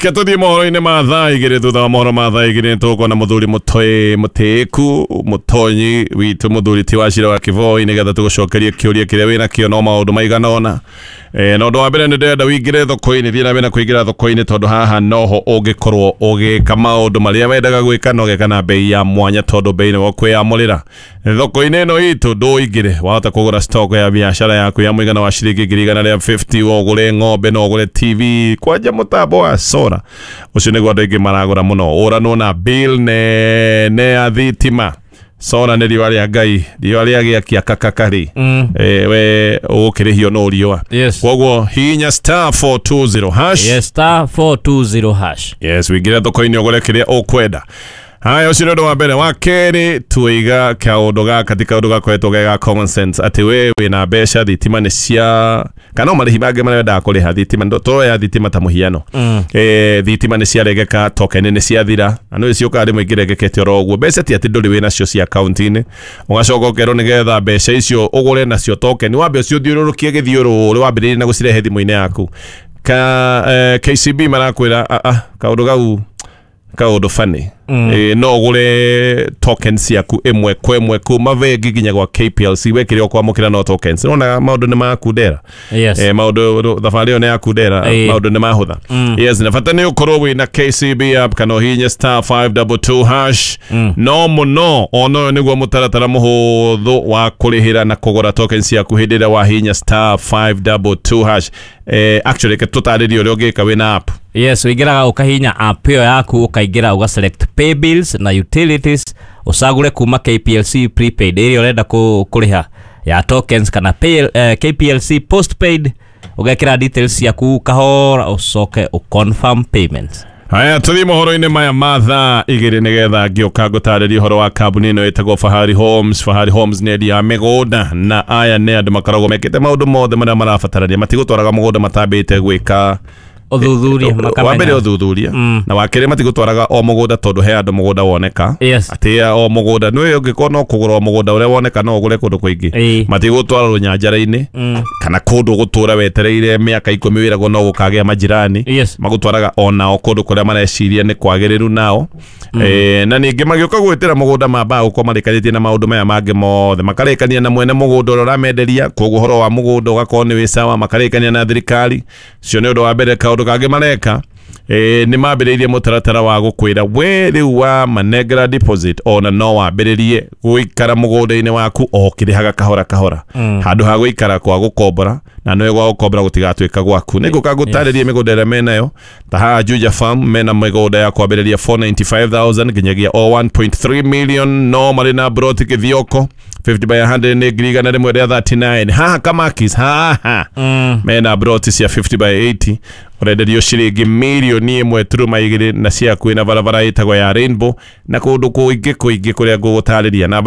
Reke tũthiĩ mohoro-inĩ ma thaa 2. Thutha wa mohoro ma thaa 2 nĩtũgũkorwo na mũthuri mũtĩĩku mũtonyi witũ, mũthuri ti wa Cira wa Kĩboi, nĩgetha tũgũcokerie kĩũria kĩrĩa wĩna kĩo. No maũndũ maigana ũna, na ũndũ wa mbere nĩ ndĩrenda wĩingĩre thoko-inĩ, thiĩ na mbere na kũingĩra thoko-inĩ, tondũ haha noho ũngĩkorwo ũgĩka maũndũ marĩa wendaga gwĩka na ũgeka na bei ya mwanya, tondũ bei nĩwe ũkwĩyamũrĩra. Thoko-inĩ ĩno itũ ndũingĩre, wahota kũgũra stock ya biacara yaku ya mũigana wa ciringi 150,000, ũgũre ng'ombe, no ũgũre TV, kwanja mũtambo wa solar ũcio nĩguo andũ aingĩ maragũra mũno, ũranwo na bill nene ya thitima. Solar nĩ riũa rĩa Ngai, riũa rĩa gĩakia kakakari. We ũgũkĩrĩhio no riũa. Koguo hihinya *420#. Yes, *420#. Yes, wĩingĩre thoko-inĩ ũgũre kĩrĩa ũkwenda. Haya, ũcio nĩ ũndũ wa mbere. Wa kerĩ, tuiga kaũndũ gaka ti kaũndũ gakoretwo ge ga common sense, atĩ we wĩna mbeca, thitima nĩ cia kana no marĩhi mangĩ marĩa wendaga kũrĩha thitima, tuoya thitima ta mũhiano. Thitima nĩ ciaregeka, token nĩ ciathira, na nĩ ciũkaga rĩmwe ingĩregekete oro ũguo. Mbeca ti atĩ ndũrĩ wĩnacio cia akaunti-inĩ, ũgacoka ũkerwo nĩgetha mbeca icio ũgũre nacio token wambe ũciũthiũrũrũkie gĩthiũrũrĩ, wambĩrĩrie na gũcirehe thimũ-inĩ yaku. Ka KCB marakwĩra, "Ah, ah, kaũndũ kau kaũndũ funny." No ũgũre tokens ciaku ĩmwe kwa ĩmwe kuma bengi nginya gwa KPLC, we kĩrĩa ũkwamũkĩra no tokens. Nona maũndũ nĩ makundera. Maũndũ thabarĩ ĩyo nĩ yakundera. Maũndũ nĩ mahũtha. Yes, na bata nĩ ũkorwo wĩna KCB app kana ũhihinye *522#. No mũno ona ũyũ nĩguo mũtaratara mũhũthũ wa kũrĩhĩra na kũgũra tokens ciaku hĩndĩ ĩrĩa wahihinya *522#. Actually, reke tũtarĩrie ũrĩa ũngĩka wĩna app. Yes, ũingĩraga ũkahihinya app ĩyo yaku, ũkaingĩra ũga select pay bills na utilities, ũcagũre kuma KPLC prepaid ĩrĩa ũrenda kũrĩha ya tokens kana KPLC postpaid, ũgekĩra details ciaku kahora, ũcoke ũconfirm payments. Haya, tũthiĩ mohoro-inĩ maya ma thaa 2 nĩgetha ngĩũka ngũtarĩrie ũhoro wa kambuni ĩno ĩtagwo Fahari Homes. Fahari Homes nĩ endia a mĩgũnda, na aya nĩ andũ makoragwo mekĩte maũndũ mothe marĩa marabatarania. Matigũtwaraga mũgũnda matambĩte gwĩka ũthuthuria. Wa mbere makamenya ũthuthuria, na wa kerĩ matigũtwaraga o mũgũnda tondũ he andũ mũgũnda woneka, atĩ o mũgũnda nĩ ũngĩkorwo no kũgũra o mũgũnda ũrĩa woneka, no ũgũre kũndũ kũingĩ. Matigũtwara rũnyanjara-inĩ kana kũndũ gũtũra wetereire mĩaka 10 wĩragwo no gũkagĩa majirani. Magũtwaraga onao kũndũ kũrĩa mareciria nĩ kwagĩrĩru nao. Na ningĩ magĩũka gwĩtĩra mũgũnda mambaga gũkorwo marĩkanĩtie na maũndũ maya mangĩ mothe, makarĩkania na mwene mũgũnda ũrĩa ũramenderia, koguo ũhoro wa mũgũnda ũgakorwo nĩ wĩ sawa, makarĩkania na thirikari cio. Nĩ ũndũ wa mbere. Kaũndũ kangĩ mareka, nĩ mambĩrĩirie mũtaratara wa gũkwĩra we rĩu wa manengera deposit ona no wambĩrĩrie gũikara mũgũnda-inĩ waku o ũkĩrĩhaga kahora kahora, handũ ha gũikara kwa gũkombora, na nĩwe gwa gũkombora gũtigatuĩka gwaku. Nĩ ngũka ngũtarĩrie mĩgũnda ĩrĩa menayo. Ta haha Juja Farm mena mĩgũnda ya kwambĩrĩria 495,000 nginyagia o 1.3 million, no marĩ na broti Kĩthioko 50 by 100 nĩ 139,000. Haha Kamakis haha mena broti cia 50 by 80, ũrenderio ciringi 1.2 million, na ciakuĩ na barabara ĩtagwo ya Rainbow, na kũndũ kũingĩ kũingĩ kũrĩa ngũgũtarĩria namba ya